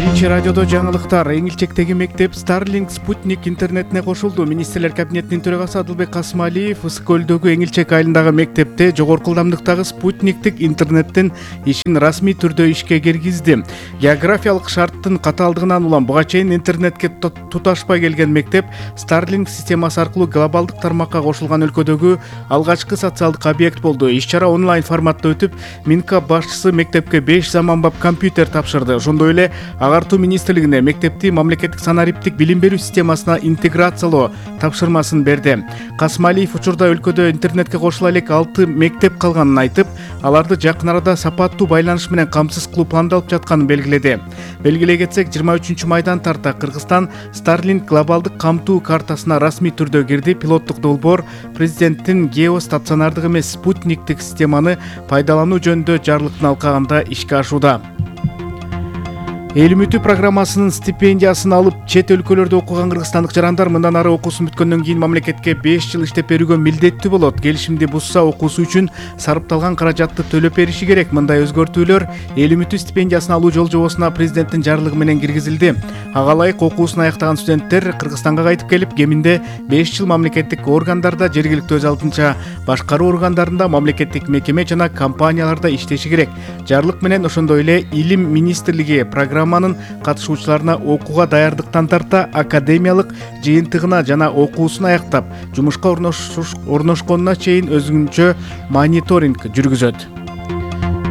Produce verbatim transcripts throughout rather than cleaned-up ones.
Биринчи радиодо жаңылыктар. Эң илчектеги мектеп Starlink спутник интернетине кошулду. Министрлер кабинетинин төрагасы Адылбек Касымалиев Ысык көлдөгү эң илчек айылындагы мектепте жогорку ылдамдыктагы спутниктик интернеттин ишин расмий түрдө ишке киргизди. Географиялык шарттын катаалдыгынан улам буга чейин интернетке туташпай келген мектеп Starlink системасы аркылуу глобалдык тармакка кошулган өлкөдөгү алгачкы социалдык объект болду. Иш-чара онлайн форматта өтүп, Минкап башчысы мектепке беш заманбап компьютер тапшырды. Ошондой эле Агартуу министрлигине мектепти мамлекеттик санариптик билим берүү системасына интеграциялоо тапшырмасын берди. Касымалиев учурда өлкөдө интернетке кошула элек алты мектеп калганын айтып, аларды жакын арада сапаттуу байланыш менен камсыз кылуу пландалып жатканын белгиледи. Белгилей кетсек, жыйырма үчүнчү майдан тарта Кыргызстан Starlink глобалдык камтуу картасына расмий түрдө кирди. Пилоттук долбоор президенттин геостационардык эмес спутниктик системаны пайдалануу жөнүндө жарлыктын алкагында ишке ашууда. Эл үмүтү программасынын стипендиясын алып, чет өлкөлөрдө окуган кыргызстандык жарандар мындан ары окуусун бүткөндөн кийин мамлекетке беш жыл иштеп берүүгө милдеттүү болот. Келишимди бузса, окуусу үчүн сарпталган каражатты төлөп бериши керек. Мындай өзгөртүүлөр эл үмүтү стипендиясын алуу жол жобосуна президенттин жарлыгы менен киргизилди. Ага ылайык окуусун аяктаган студенттер Кыргызстанга кайтып келип, кеминде беш жыл мамлекеттик органдарда, жергиликтүү өз алдынча башкаруу органдарында, мамлекеттик мекеме жана компанияларда иштеши керек. Жарлык менен ошондой эле Илим министрлиги программа Программанын катышуучуларына окууга даярдыктан тарта академиялык жыйынтыгына жана окуусун аяктап, жумушка орношконуна чейин өзүнчө мониторинг жүргүзөт.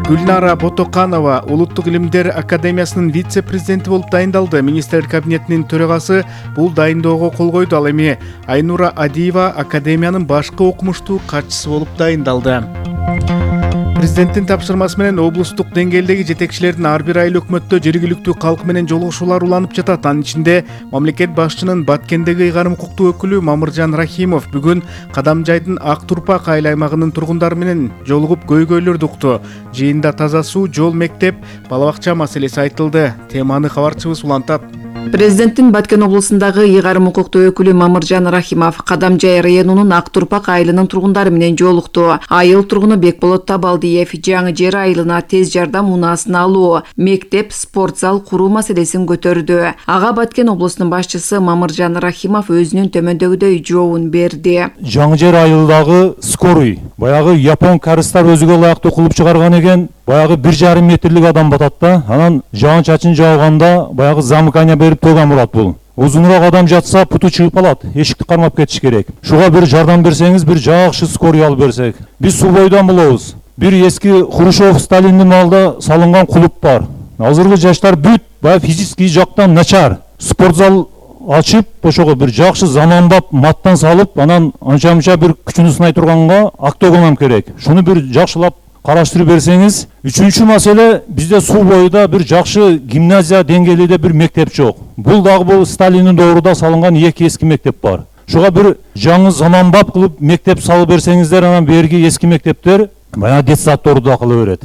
Гүлнара Ботоканова Улуттук илимдер академиясынын вице-президенти болуп дайындалды. Министрлер кабинетинин төрагасы бул дайындоого кол койду. Ал эми Айнура Адиева академиянын башкы окумуштуу катчысы болуп дайындалды. Президенттин тапшырмасы менен облустук деңгээлдеги жетекчилердин ар бир айыл өкмөттө жергиликтүү калк менен жолугушуулар уланып жатат. Анын ичинде мамлекет башчынын Баткендеги ыйгарым укуктуу өкүлү Мамыржан Рахимов бүгүн Кадамжайдын Ак Турпак айыл аймагынын тургундары менен жолугуп көйгөйлөрдү укту. Жыйында таза суу, жол, мектеп, бала бакча маселеси айтылды. Теманы кабарчыбыз улантат. Президенттин Баткен облусундагы ыйгарым укуктуу өкүлү Мамыржан Рахимов Кадамжай районунун Ак Турпак айылынын тургундары менен жолукту. Айыл тургуну Бекболот Табалдиев жаңы жер айылына тез жардам унаасын алуу, мектеп, спорт зал куруу маселесин көтөрдү. Ага Баткен облусунун башчысы Мамыржан Рахимов өзүнүн төмөндөгүдөй жообун берди. Жаңы жер айылдагы скорый, баягы япон карыстар өзүгө ылайыктуу кылып чыгарган экен. Баягы бир жарым метрлик адам батат да. Анан жаан чачын жауганда баягы замыкание берип турган болот бул. Узунураак адам жатса путу чыгып калат. Эшикти кармап кетиш керек. Шуга бир жардам берсеңиз, бир жакшы скорый алып берсек. Биз суу бойдон болобуз. Бир эски Хрущев Сталиндин маалда салынган клуб бар. Азыркы жаштар бүт баягы физический жактан начар. Спортзал ачып, ошого бир жакшы заманбап маттан салып, анан анча-мынча бир күчүнү сынай турганга октогонам керек. Шуну бир жакшылап караштырып берсеңиз. Үчүнчү маселе, бизде суу боюда бир жакшы гимназия деңгээлинде бир мектеп жок. Бул дагы бул Сталиндин доорунда салынган эки эски мектеп бар. Шуга бир жаңы заманбап кылып мектеп салып берсеңиздер, анан берги эски мектептер баягы детсадторду да кыла берет.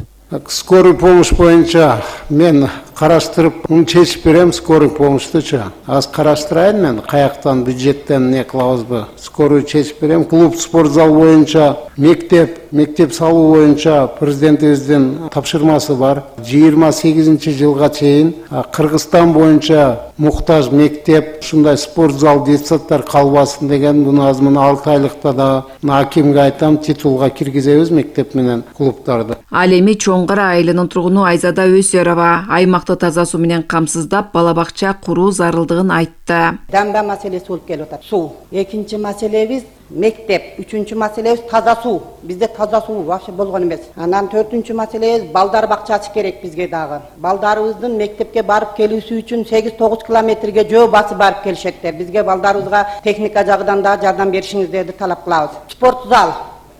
Скорый помощь боюнча мен караштырып, муну чечип берем, скорый помощьтучу. Аз караштырайын мен, каяктан бюджеттен не кылабызбы? Скорый чечип берем. Клуб, спортзал боюнча, мектеп, мектеп салуу боюнча президентибиздин тапшырмасы бар. жыйырма сегизинчи жылга чейин Кыргызстан боюнча муктаж мектеп, ушундай спортзал, детсадтар калбасын деген, буну аз мына алты айлыкта да акимге айтам, титулга киргизебиз мектеп менен клубтарды. Ал эми Чоңгара айылынын тургуну Айзада Өсөрова аймакты таза суу менен камсыздап, бала бакча куруу зарылдыгын айтты. Дамба маселеси болуп келип атат. Суу. Экинчи маселебиз мектеп, үчүнчү маселебиз таза суу. Бизде таза суу вообще болгон эмес. Анан төртүнчү маселебиз балдар бакчасы керек бизге дагы. Балдарыбыздын мектепке барып келүүсү үчүн сегиз тогуз километрге жөө басып барып келишеттер. Бизге балдарыбызга техника жагынан да жардам беришиңиздерди талап кылабыз. Спорт зал.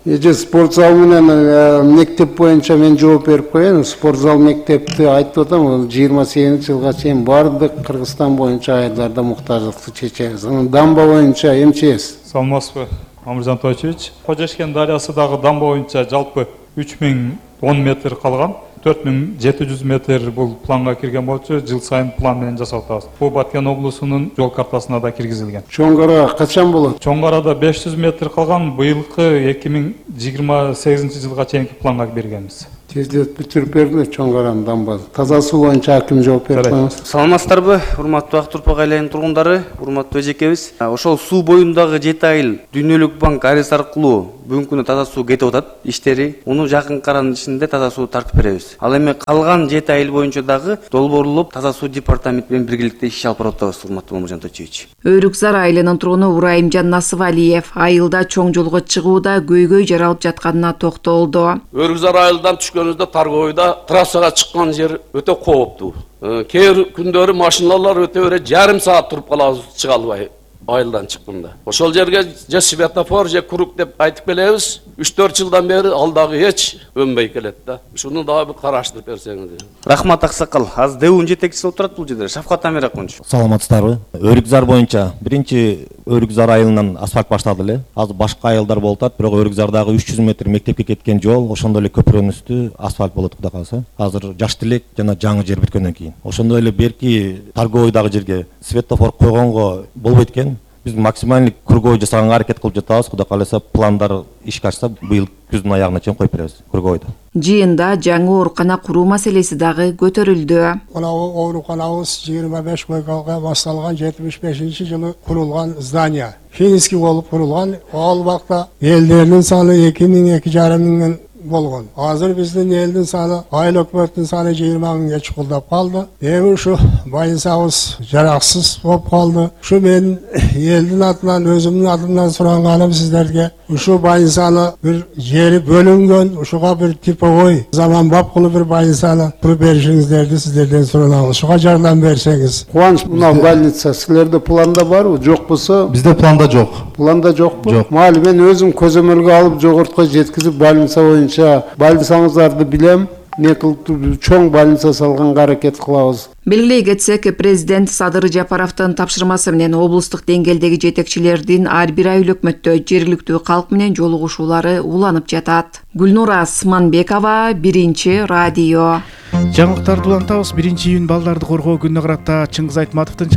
Эже спорт зал менен мектеп боюнча мен жооп берип коеюн. Спорт зал мектепти айтып атам, жыйырма сегизинчи жылга чейин бардык Кыргызстан боюнча айылдарда муктаждыкты чечебиз. Анан дамба боюнча МЧС. Саламатсызбы, Мамыржан Тойчевич. Кожешкен дарыясындагы дамба боюнча жалпы үч миң он метр калган. төрт миң жети жүз метр бул планга кирген болчу, жыл сайын план менен жасап атабыз. Бул Баткен облусунун жол картасына да киргизилген. Чоңгара качан болот? Чоңгарада беш жүз метр калган, быйылкы эки миң жыйырма сегизинчи жылга чейинки планга бергенбиз. тездетип бүтүрүп берди чоң каранын дамбасы. Таза суу боюнча аким жооп берип коюңуз. Саламатсыздарбы, урматтуу Ак Турпак айланын тургундары, урматтуу эжекебиз. Ошол суу боюндагы жети айыл Дүйнөлүк банк арыз аркылуу бүгүнкү күнү таза суу кетип атат иштери. Муну жакын каранын ичинде таза суу тартып беребиз. Ал эми калган жети айыл боюнча дагы долбоорлоп таза суу департаменти менен биргеликте иш алып барып атабыз, урматтуу Мамыржан Тойчуевич. Өрүкзар айылынын тургуну Урайымжан Насыбалиев айылда чоң жолго чыгууда көйгөй жаралып жатканына токтолду. Өрүкзар айылдан түшкөнүбүздө Таргойда трассага чыккан жер өтө кооптуу. Кээ бир күндөрү машиналар өтө бере жарым саат туруп калабыз чыга албай айылдан чыкканда. Ошол жерге же светофор же круг деп айтып келебиз. үч төрт жылдан бери ал дагы эч өнбөй келет да. Ушуну дагы бир караштырып берсеңиз. Рахмат аксакал. Азыр дэүүнүн жетекчиси болуп турат бул жерде. Шавкат Амиракунч. Саламатсыздарбы? Өрүкзар боюнча биринчи Өрүкзар айылынан асфальт баштады эле. Азыр башка айылдар болуп атат, бирок Өрүкзардагы үч жүз метр мектепке кеткен жол ошондой эле көпүрөнүн үстү асфальт болот кудай кааласа. Азыр жаш тилек жана жаңы жер бүткөндөн кийин. Ошондой эле берки Таргойдагы жерге светофор койгонго болбойт экен. Биз максимальный круговой жасаганга аракет кылып жатабыз. Кудай кааласа пландар ишке ашса быйыл күздүн аягына чейин коюп беребиз круговойду. Жыйында жаңы оорукана куруу маселеси дагы көтөрүлдү. Мына ооруканабыз жыйырма беш койкага башталган жетимиш бешинчи жылы курулган здание. Финский болуп курулган. Ал убакта элдердин саны эки миң эки жарым миңден болгон. Азыр биздин элдин саны, айыл өкмөттүн саны жыйырма миңге чукулдап калды. Эми ушу байынсабыз жараксыз болуп калды. Ушу мен элдин атынан, өзүмдүн атымдан суранганым сиздерге ушу байынсаны бир жери бөлүнгөн, ушуга бир типовой заманбап кылып бир байынсаны куруп беришиңиздерди сиздерден суранабыз. Ушуга жардам берсеңиз. Кубаныч, мына больница силерде планда барбы? Жок болсо? Бизде планда жок. Планда жокпу? Жок. Мали мен өзүм көзөмөлгө алып жогортко жеткизип больница боюнча больницаңыздарды билем. Не кылып чоң больница салганга аракет кылабыз. Белгилей кетсек, президент Садыр Жапаровдун тапшырмасы менен облустук деңгээлдеги жетекчилердин ар бир айыл өкмөттө жергиликтүү калк менен жолугушуулары уланып жатат. Гүлнура Асманбекова, Биринчи радио. Жаңылыктарды улантабыз. биринчи июнь балдарды коргоо күнүнө карата Чыңгыз Айтматовдун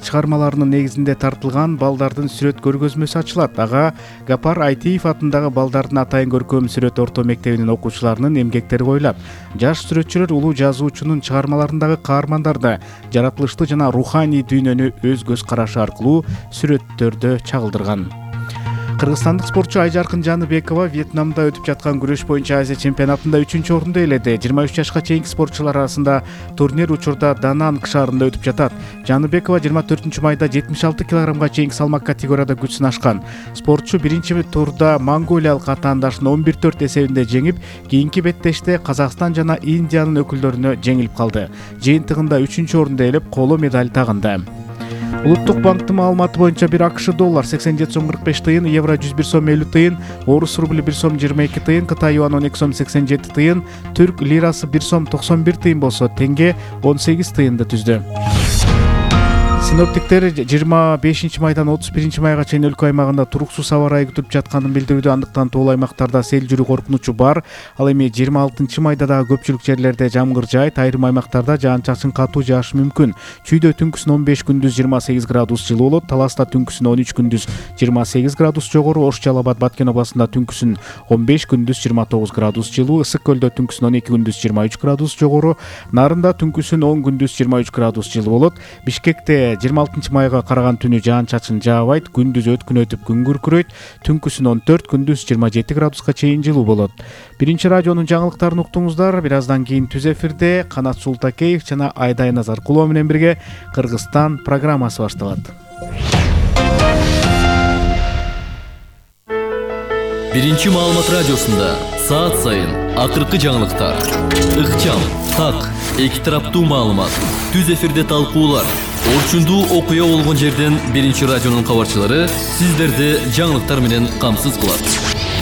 чыгармаларынын негизинде тартылган балдардын сүрөт көргөзмөсү ачылат. Ага Гапар Айтиев атындагы балдардын атайын көркөм сүрөт орто мектебинин окуучуларынын эмгектери коюлат. Жаш сүрөтчүлөр улуу жазуучунун чыгармаларындагы каармандарды, жаратылышты жана руханий дүйнөнү өз көз карашы аркылуу сүрөттөрдө чагылдырган. Кыргызстандык спортчу Айжаркын Жаныбекова Вьетнамда өтүп жаткан күрөш боюнча Азия чемпионатында үчүнчү орунду ээледи. жыйырма үч жашка чейинки спортчулар арасында турнир учурда Дананг шаарында өтүп жатат. Жаныбекова жыйырма төртүнчү майда жетимиш алты килограммга чейинки салмак категорияда күч сынашкан. Спортчу биринчи турда монголиялык атаандашын он бир төрт эсебинде жеңип, кийинки беттеште Казакстан жана Индиянын өкүлдөрүнө жеңилип калды. Жыйынтыгында үчүнчү орунду ээлеп, коло медаль тагынды. Улуттук банктын маалыматы боюнча бир АКШ доллар сексен жети сом кырк беш тыйын, евро жүз бир сом элүү тыйын, орус рубли бир сом жыйырма эки тыйын, Кытай юан он эки сом сексен жети тыйын, түрк лирасы бир сом токсон бир тыйын болсо, тенге он сегиз тыйынды түздү. Синоптиктер жыйырма бешинчи майдан отуз биринчи майга чейин өлкө аймагында туруксуз аба ырайы күтүп жатканын билдирүүдө. Андыктан тоол аймактарда сел жүрүү коркунучу бар. Ал эми жыйырма алтынчы майда дагы көпчүлүк жерлерде жамгыр жаайт, айрым аймактарда жаан-чачын катуу жаашы мүмкүн. Чүйдө түнкүсүн он беш, күндүз жыйырма сегиз градус жылуу болот. Таласта түнкүсүн он үч, күндүз жыйырма сегиз градус жогору. Ош Жалал Абад Баткен областында түнкүсүн он беш, күндүз жыйырма тогуз градус жылуу. Ысык көлдө түнкүсүн он эки, күндүз жыйырма үч градус жогору. Нарында түнкүсүн он, күндүз жыйырма үч градус жылуу болот. Бишкекте жыйырма алтынчы майга караган түнү жаан-чачын жаабайт, күндүз өткүн өтүп күн күркүрөйт, түнкүсүн он төрт, күндүз жыйырма жети градуска чейин жылуу болот. Биринчи радионун жаңылыктарын уктуңуздар. Бир аздан кийин түз эфирде Канат Султакеев жана Айдай Назаркулова менен бирге Кыргызстан программасы башталат. Биринчи маалымат радиосунда саат сайын акыркы жаңылыктар, ыкчам, так, эки тараптуу маалымат, түз эфирде талкуулар, орчундуу окуя болгон жерден биринчи радионун кабарчылары сиздерди жаңылыктар менен камсыз кылат.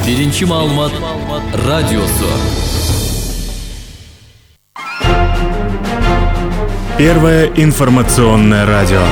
Биринчи маалымат радиосу. Первое информационное радио.